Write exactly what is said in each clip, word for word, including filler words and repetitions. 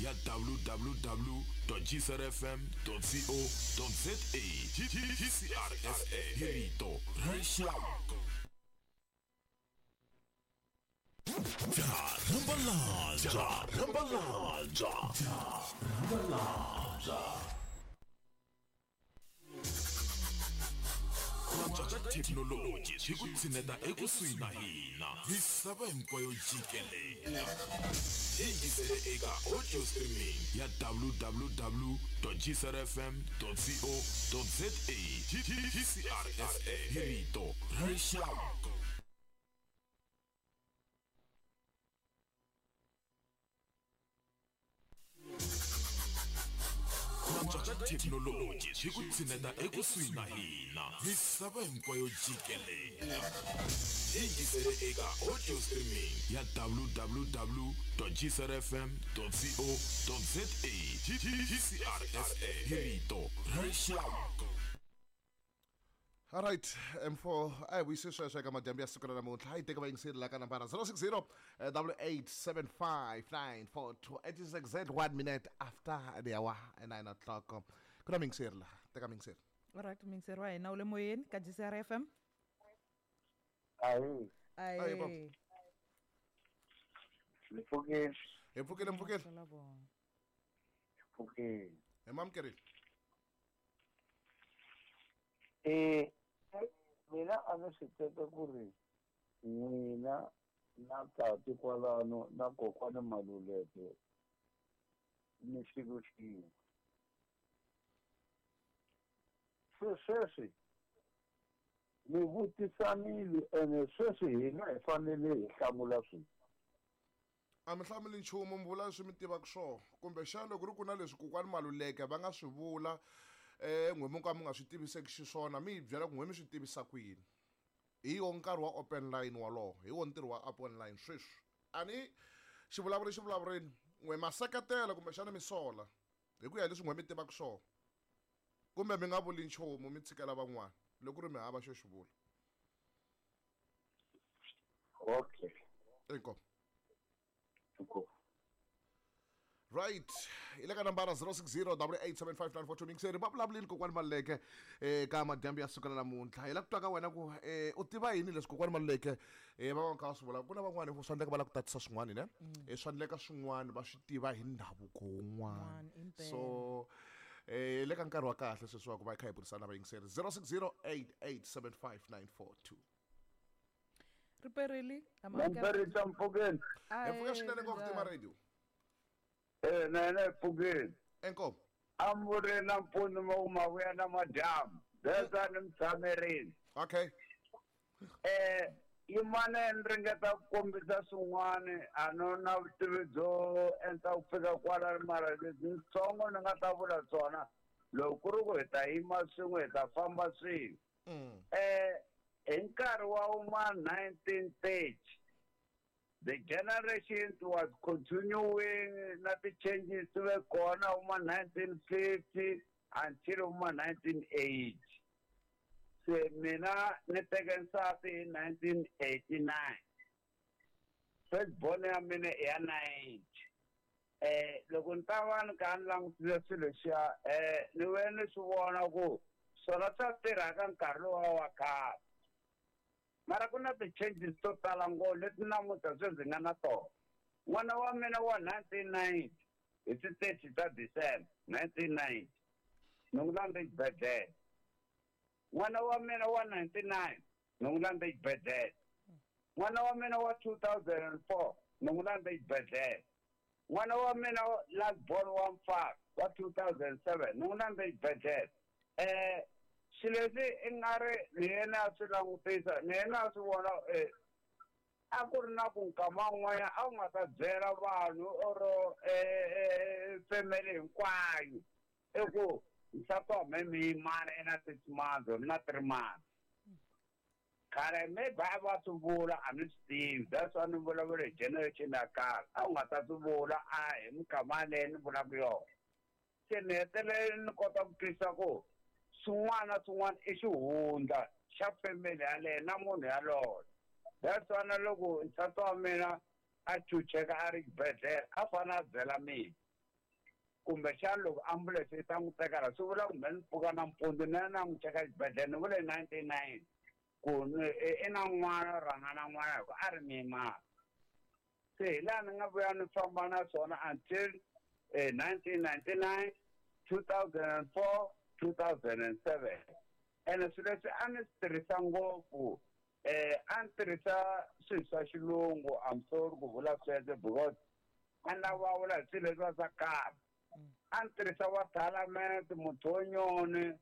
ya w w w dot g c r f m dot co dot z a. G C R F M hi rito ra rixaka. Rambalanja, Rambalanja, Rambalanja. Thekinoloji yi ku tshineta ekusuhi na hina misava hinkwayo jikelele. Yingisele eka audio streaming ya w w w dot g c r f m dot co dot z a. G C R F M hi rito ra rixaka. Thekinoloji yi ku tshineta ekusuhi na hina misava hinkwayo jikelele. Yingisele eka audio streaming ya w w w dot g c r f m dot co dot z a. G C R F M hi rito ra rixaka. All right, M four, I vuyise sweswo eka madyambu ya siku ra namuntlha. Hi teka vayingiseri la ka nambara zero six zero double eight seven five nine four two. It is exact one minute after the hour nine o'clock. Ku na miyingiseri laha, teka miyingiseri. All right, miyingiseri wa hina u le moyeni ka G C R F M. Ayi. Ayi. Ni pfukile. Hi pfukile, mpfukile. Pfukile. Hi mamukerile. Eh, mina a ni swi teka ku ri n'wina na tati kwalano na kokwana Maluleke ni xilo xin'we. Se sweswi mi vutisanile ene sweswi hina hi fanele hi hlamula swilo. A mi hlamuli nchumu, mi vula leswi mi tivaka swona. Kumbexana loko ku ri ku na leswi kokwani Maluleke va nga swi vula eh n'we mi ka mi nga swi tiviseki xiswona, mi hi byela ku n'we mi swi tivisa ku yini. Hi wo nkarhi wa open line wolowo, hi wo ntirho wa open line sweswi. A ni xivulavuri xivulavurini, n'we ma seketela kumbexana mi sola hi ku ya hi leswi n'we mi tivaka swona, kumbe mi nga vuli nchumu mi tshikela van'wana loko ku ri mi hava xo xi vula. Okay. Inkomu. Inkomu. Right, hi le ka nambara zero six zero double eight seven five nine four two. Miyingiseri va vulavulini kokwani Maluleke eka madyambu ya siku ra namuntlha. Hi lava ku twa ka wena ku eh u tiva yini leswi kokwani Maluleke eh va va kha va swi vula. Ku na van'wani swa endleka va lava ku tatisa swin'wana ne, eh swa endleka swin'wana va swi tiva hi ndhavuko wun'wana. So eh le ka nkarhi wa kahle sweswi wa ku va hi kha hi burisana na vayingiseri zero six zero eight eight seven five nine four two. Riperili, Mperi mpfukeni. Hi pfuka swinene ngopfu tima radio. Eh, na na pfukeni. Inkomu. A mi ri na mpfuno ma vuya na madyambu. That's ni mitshamerini. Okay. Eh, yin'wana ni ringeta ku kombisa swin'wana a no na vutivi byo endla ku fika kwala mara leswi ntsongo ni nga ta vula swona loko ku ri ku hi ta yima swin'we hi ta famba swin'we. Eh, hi nkarhi wa uma nineteen thirty the generation was continuing na ti-changes ti ve kona uma nineteen fifty until uma nineteen eighty. Se mina ni teke nsati hi nineteen eighty-nine. First born ya mina i ya ninety. Eh, loko ni ta va ni kha ni langutile swilo leswiya eh ni ve ni swi vona ku swona swa tirha ka nkarhi lowa wa khale. Mara ku na ti-changes to tala ngopfu leti namuntlha sweswi ndzi nga na tona. N'wana wa mina wa nineteen ninety hi ti thirty ta December nineteen ninety ni n'wi landze xibedhlele. N'wana wa mina wa ninety-nine ni n'wi landze xibedhlele. N'wana wa mina wa two thousand and four ni n'wi landze xibedhlele. N'wana wa mina last born wa mfana wa two thousand and seven ni n'wi landze xibedhlele. Eh swilo leswi i nga ri ni yena a swi langutisa ni yena a swi vona eh a ku ri na ku nkama wun'wanyana a wu nga ta byela vanhu or eh family hinkwayo i ku nsati wa mehe mi yimana i na six months or na three months. Khale maybe a va swi vula a ni swi tivi, that's why ni vulavula hi generation ya khale. A wu nga ta swi vula a hi minkama yaleyo ni vulaka yona. Se ni hetelele ni kota ku twisisa ku swin'wana na swin'wana i xihundla xa family yaleyo na munhu yaloye. That's why na loko nsati wa mina a chucheka a ri xibedhlele a fanele a byela mina. Kumbexana loko ambulense yi ta n'wi teka la swi vula ku mhe ni pfuka nampundzu ni ya na n'wi cheka xibedhlele ni vule nineteen nine ku i na n'wana rhanga na n'wana hi ku a ri muyimana. Se hi laha ni nga vuya ni famba na swona until nineteen ninety nine, two thousand and four, two thousand and seven. Ene swilo leswi a ni swi tirhisa ngopfu eh a ni tirhisa swilo swa xilungu, I'm sorry ku vula sweswo because a ni lava vulavula hi swilo leswiya swa khale. A ni tirhisa wa thalamente, muthonyoni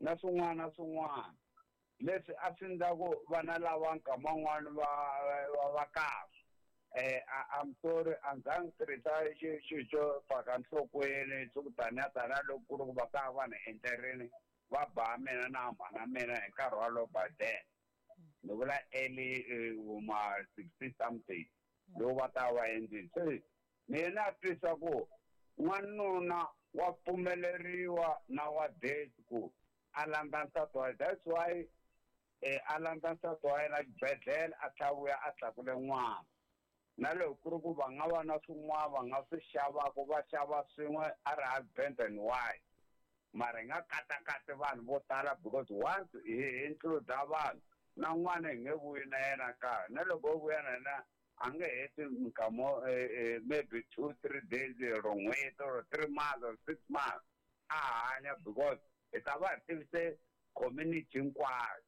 na swin'wana na swin'wana leswi a swi endla ku vana lava nkama wun'wani va va va kahle. Eh I'm sorry a ndzi zangi tirhisa xilo xo faka nhlokweni swo ku taniya taniya loko ku ri ku va ta va ni endlerini va ba mina na mhana mina hi nkarhi walowo by then. Ni vula early ma sixty something loko va ta va endlile. Se mina na twisa ku n'wanuna wa pfumeleriwa nowadays ku a landza nsati wa yena. That's why eh a landza nsati wa yena xibedhlele a tlhela vuya a tlakule n'wana. Na loko ku ri ku va nga va na swin'wana va nga swi xavaka va xava swin'we a ri husband and wife. Mara hi nga katakati vanhu vo tala because once hi include vanhu na n'wana hi nge vuyi na yena kaya. Na loko o vuya na yena a nge heti minkama maybe two three days or n'hweti or three months or six months a hanya because hi ta va hi tivise community hinkwayo.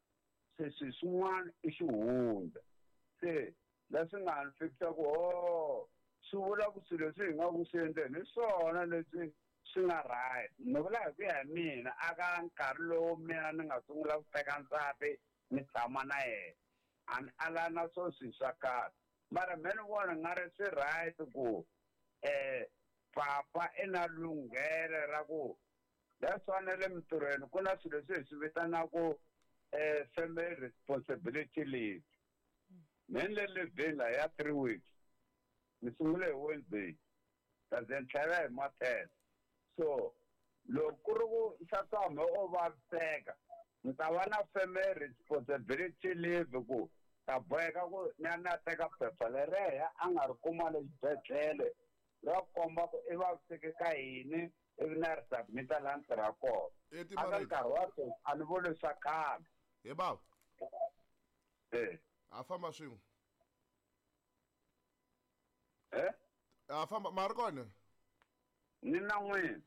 Se swilo swin'wana i xihundla. Se leswi nga ni fikisa ku ho swi vula ku swilo leswi hi nga ku swi endleni hi swona leswi swi nga right. Ni vula hi ku ya hi mina a ka nkarhi lowu mina ni nga sungula ku teka nsati ni tshama na yena a ni ala na swo swilo swa kahle. Mara me ni vona nga ri swi right ku eh papa i na lunghelo ra ku that's why na le mintirhweni ku na swilo leswi hi swi vitanaka eh family responsibility leave. Me ni le leave la ya three weeks. Ni sungule hi Wednesday kasi ni tlhela hi ma ten. So loko ku ri ku nsati wa mina o vaviseka ni ta va na family responsibility leave ku ta boheka ku ni ya ni ya teka phepha leriya a nga ri kuma le xibedhlele ra komba ku i vaviseke ka yini ivi na ri submit-a laha ni tirhaka kona. A ka nkarhi wa sweswi a ni vuli swa khale. He bava. Eh. A famba swin'we. Eh? A famba ma ri kona? Ni na n'wina.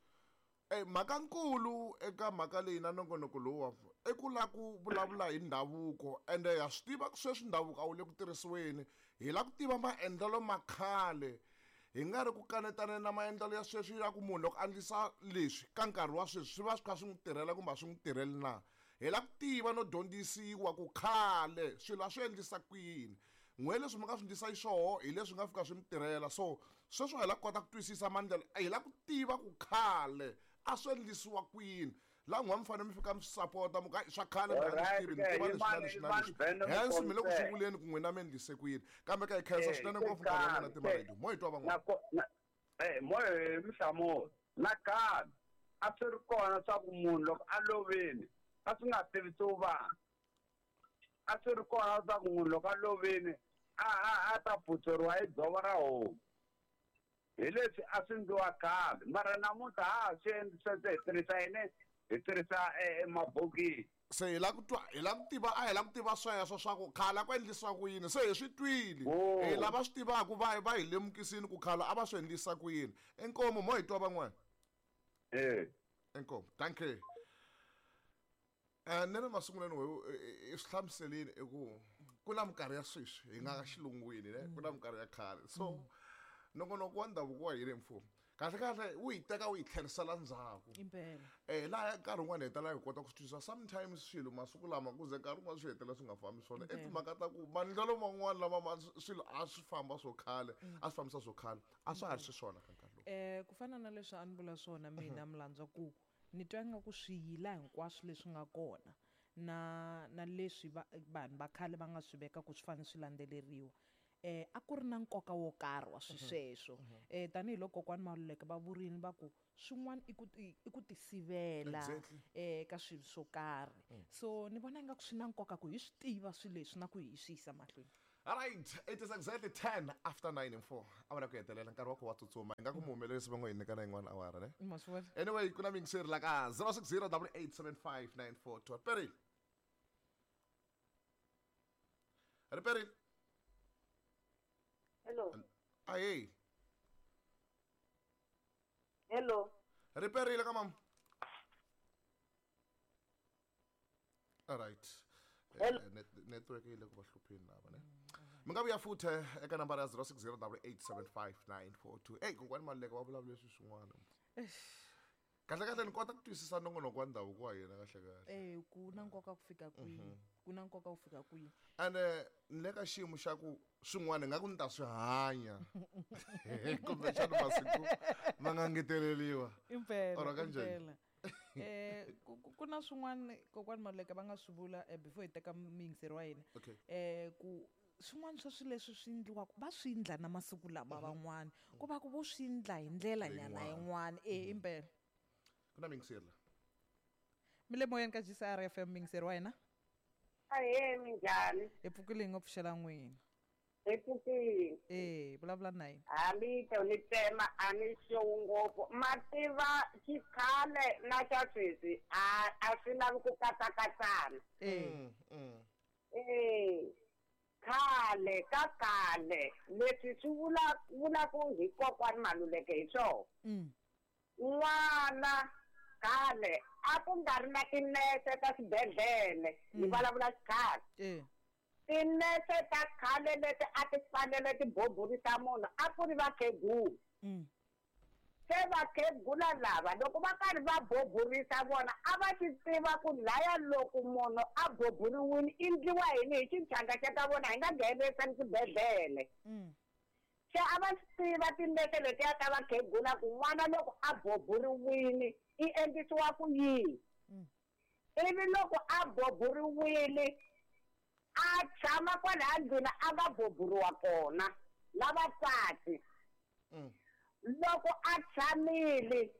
Eh mhaka nkulu eka mhaka leyi na nongonoko lowu i ku lava ku vulavula hi ndhavuko ende ha swi tiva ku sweswi ndhavuko a wu le ku tirhisiweni. Hi lava ku tiva maendlelo ma khale hi nga ri ku kanetana na maendlelo ya sweswi ya ku munhu loko a endlisa leswi ka nkarhi wa sweswi swi va swi kha swi n'wi tirhela kumbe a swi n'wi tirheli na. Hi lava ku tiva no dyondzisiwa ku khale swilo a swi endlisa ku yini. N'we leswi mi nga swi endlisa xiswona hi leswi nga fika swi mi tirhela. So sweswi hi lava ku kota ku twisisa maendlelo, hi lava ku tiva ku khale a swi endlisiwa ku yini. Laha n'we mi fanele mi fika mi swi sapota mi ku hayi swa khale mi nga swi tivi ni tiva leswi na leswi na leswi. Hence mi le ku swi vuleni ku n'wina mi endlise ku yini. Kambe ka hi khensa swinene ngopfu nkarhi wa n'wina Timaredi. Mo hi twa van'wana. Eh mo hi mi hlamula. Nakambe a swi ri kona swa ku munhu loko a lovile a swi nga tivisiwi vanhu. A swi ri kona swa ku munhu loko a lovile a a a ta phutseriwa hi dzovo ra homu. Hi leswi a swi endliwa khale mara namuntlha ha ha swi endli sweswo hi tirhisa yini? Hi tirhisa mabokisi. Se hi lava ku twa hi lava ku tiva a hi lava ku tiva sweswo swa ku khale a ku endlisiwa ku yini. Se hi swi twile. Hi lava swi tivaka va va hi lemukisini ku khale a va swi endlisa ku yini. Inkomu mo hi twa van'wana. Eh. Inkomu. Thank you. Eh ni ri masungulweni i swi hlamuselini i ku ku na minkarhi ya sweswi hi nga xilungwini ne ku na minkarhi ya khale. So nongonoko wa ndhavuko wa hina mfumo kahle kahle wu hi teka wu hi tlherisela ndzhaku. Eh laha nkarhi wun'wani hi hetelela hi kota ku swi twisisa sometimes swilo masiku lama ku ze nkarhi wun'wani swi hetelela swi nga fambi swona. I timhaka ta ku maendlelo man'wani lama ma swilo a swi famba swo khale a swi fambisa swo khale a swa ha ri xiswona ka nkarhi lowu. Eh ku fana na leswi a ni vula swona mina Mlandza ku ni twa ingaku swiyila hinkwaswo leswi nga kona na na leswi vanhu va khale va nga swi veka ku swi fanele swi landzeleriwa. Eh a ku ri na nkoka wo karhi wa swisweswo. Eh tanihiloko kokwani Maluleke va vurini va ku swin'wana i ku i ku tisivela eh ka swilo swo karhi. So ni vona ingaku swi na nkoka ku hi swi tiva swilo leswi na ku hi swi yisa mahlweni. All right, it is exactly ten after nine and four. Awara ku hetelela nkarhi wa ku wa tsutsuma. Ingaku muhumelerisi va ngo hi nyika na yin'wana awara ne. Ma swi vona? Anyway, ku na miyingiseri la ka zero six zero double eight seven five nine four two. Peril. Ri Peril. Hello. Ahee. Hello. Ri Perile ka mama. All right. Hello. Eh, net- network yi le ku va hlupheni lava ne. Mi nga vuya futhi eka nambara ya zero six zero double eight seven five nine four two. Ey, kokwani Maluleke va vulavule leswi swin'wana. Kahle kahle ni kota ku twisisa nongonoko wa ndhavuko wa hina kahle kahle. Eh, ku na nkoka ku fika kwihi? Ku na nkoka ku fika kwihi? Ene ni le ka xiyimo xa ku swin'wana ingaku ni ta swi hanya. Kumbexana masiku ma nga ngeteleriwa. Impela, Or kanjhani? impela. Eh, ku, ku, ku na swin'wana kokwani Maluleke va nga swi vula, eh, before hi teka muyingiseri wa hina. Okay. Eh, ku swin'wana swa swilo leswi swi endliwaka va swi endla na masiku lama van'wana. Ku va ku vo swi endla hi ndlela nyana yin'wana. Eh, impela. Ku na muyingiseri la. Mi le moyeni ka G C R F M, muyingiseri wa hina. Ahee, minjhani? Hi pfukile hi ngo pfuxela n'wina. Hi pfukile. Eh, vulavula na yena. Hambi to ni tsema a ni xowi ngopfu. Ma tiva xikhale na xa sweswi a a swi lavi ku katsakatsana. Eh. Mm, mm. Eh, khale ka khale leswi swi vula vulaku hi kokwani Maluleke hi swona. Mm. N'wana khale a ku nga ri na tinese ta swibedhlele, hi vulavula xikhale. Eh. Tinese ta khale leti a ti fanele ti boburisa munhu a ku ri vakhegula. Mm. Se vakhegula lava loko va karhi va boburisa vona a va swi tiva ku laya loko munhu a boburiwile i endliwa yini hi xichanga xa ka vona hi nga nghenerisani swibedhlele. Mm. Se a va swi tiva tinese letiya ta vakhegula ku n'wana loko a boburiwile i endlisiwa ku yini. Mm. Ivi loko a boburiwile a tshama kwalaya ndlwini a nga boburiwa kona na vatswatsi. Mm. Loko a tshamile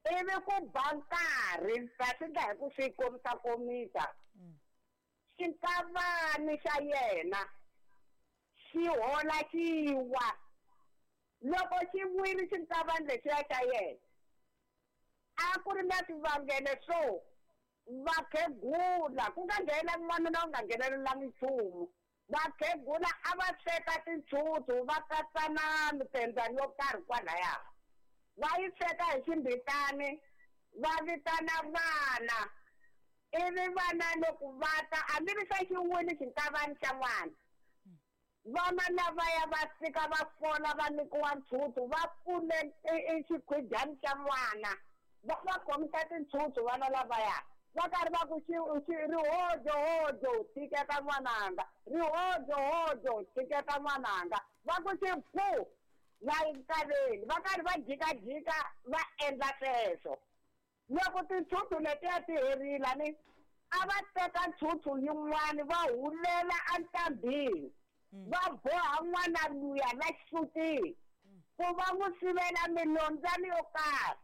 ivi ku ba nkarhi ta swi endla hi ku swi komisa komisa. Mm. Xinkavani xa yena xi hola xi wa. Loko xi wile xinkavani lexiya xa yena a ku ri na swivangelo swo vakhegula ku nga nghenelangi n'wanuna u nga nghenelelangi nchumu. Vakhegula a va sweka tintshutshu va katsa na mitsembyani yo karhi kwalaya. Va yi sweka hi ximbitani va vitana vana. Ivi vana loko va ta a mi ri se xi wile xinkavani xa n'wana. Vana lavaya va fika va fola va nyikiwa ntshutshu va pfule i xikhwidyani xa n'wana. Va va khomisa tintshutshu vana lavaya. Va karhi va ku xi, xi, rihodzo, hodzo, tshiketa n'wananga. Rihodzo, hodzo, tshiketa n'wananga. Va ku xi phu, la enkaveni. Va karhi va jikajika va endla sweswo. Loko tintshutshu letiya ti herile ni, a va teka ntshutshu yin'wani va hulela entlambini. Va boha n'wana luya la xisutini ku va n'wi sivela milondzwana yo karhi.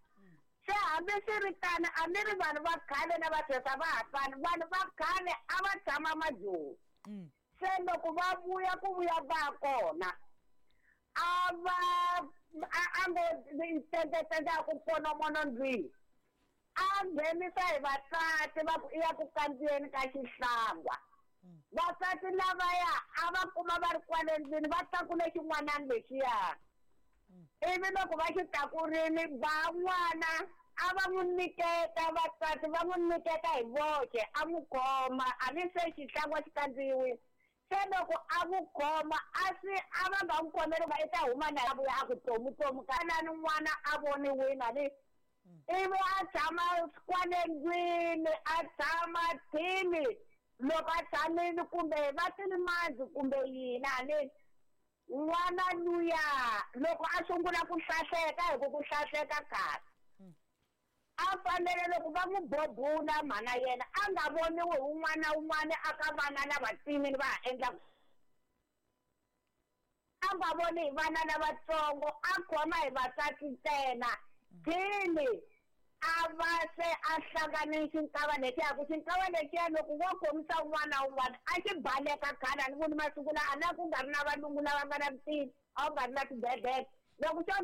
Se hambi swi ri tano a mi ri vanhu va khale na va sweswi a va ha fani. Vanhu va khale a va tshama majoni. Mm. Se loko va vuya ku vuya va kona a va a, a ngo tsendzatsendza ku ponomono ndlwini. A nghenisa hi vasati va ku i ya ku kandziyeni ka xihlangwa. Vasati lavaya a va kuma va ri kwale ndlwini va tlakule xin'wanani lexiya. Ivi loko va xi tlakurile van'wana a va n'wi nyiketa vasati va n'wi nyiketa hi voxe a n'wi khoma a ni se xihlangwa xi kandziyiwile. Se loko a n'wi khoma a swi a va nga n'wi khomeli va i ta huma na a vuya a ku tomu tomu ka lani n'wana a voniwile a ni. Ivi a tshama kwale ndlwini a tshama thini loko a tshamile kumbe va tini mandzi kumbe yini a ni. N'wana luya loko a sungula ku hlahleka hi ku ku hlahleka kahle. A fanele loko va n'wi bobula mhana yena a nga voniwi hi un'wana na un'wana a ka vana lava tinini va ha endla. A nga voni hi vana lavatsongo a khoma hi vasati ntsena. Thini A va se a hlangane xinkava lexiya ku xinkava lexiya loko wo khomisa un'wana na un'wana a xi baleka khale a ni voni masiku lawa a na ku nga ri na valungu lava nga na vutivi a ku nga ri na swibedhlele loko xo